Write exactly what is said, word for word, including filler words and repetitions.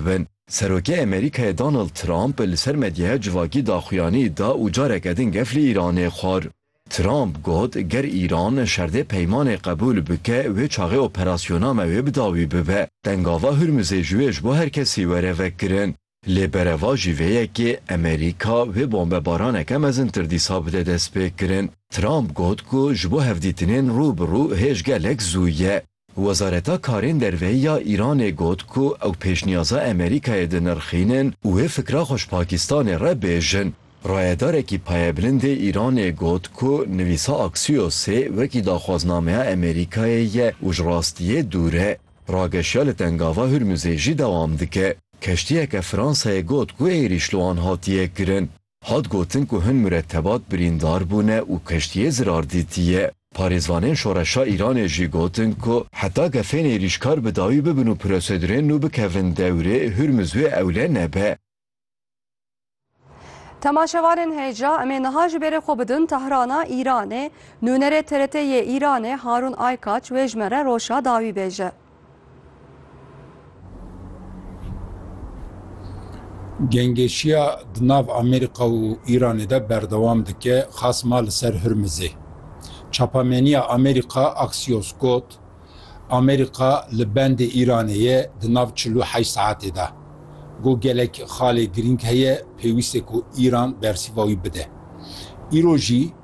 bin. Serokê Amerîkayê Donald Trump li ser medyaya civakî daxuyanî da û careke din gef li Îranê xwar. Trump got, ger Îran şerdê peymanê qebûl bike, wê çaxê operasyona me wê bi dawî bibe. Tengava Hurmuzê ji wê ji bo her kesî were vekirin. Lê berevajî vê yekê Amerîka wê bombebaraneke mezintir dîsa bide destpêkirin. Trump got ku ji bo hevdîtinên rû bi rû hêj gelek zû ye. Wezareta Karên Derve ya Îranê got ku ew pêşniyaza Amerîkayê dinirxînin û wê fikra xwe ji Pakistanê re bêjin. Rayedarekî payebilind ê Îranê got ku nivîsa Axiosê wekî daxwaznameya Amerîkayê ye û ji rastiyê dûr e. Rageşiya li Tengava Hurmuzê jî dewam dike. Keştiyeke Fransayê got ku êrîş li wan hatiye kirin. Hat gotin ku hin muretebat birîndar bûne û keştiyê zirar dîtiye. Parêzvanên şoreşa Îranê jî gotin ku heta gefên êrîşkar bi dawî bibin û prosedurên nû bikevin dewrê, Hurmuz wê ewle nebe. Temaşevanên hêja, em ê niha ji bêrê xwe bidin Tehrana Îranê. Nûnerê T R T yê Îranê Harûn Aykaç wê ji me re roşa dawî bêje. Gengeşiya di nav Amerîka û Îranê de berdewam dike, xasma li ser Hurmizê. Çapameniya Amerîka Axios got, Amerîka li bendê Îranê ye di nav çil û heşt saetê de. Got gelek xalê girîng heye, pêwîst e ku Îran bersiva wî bide. Îro jî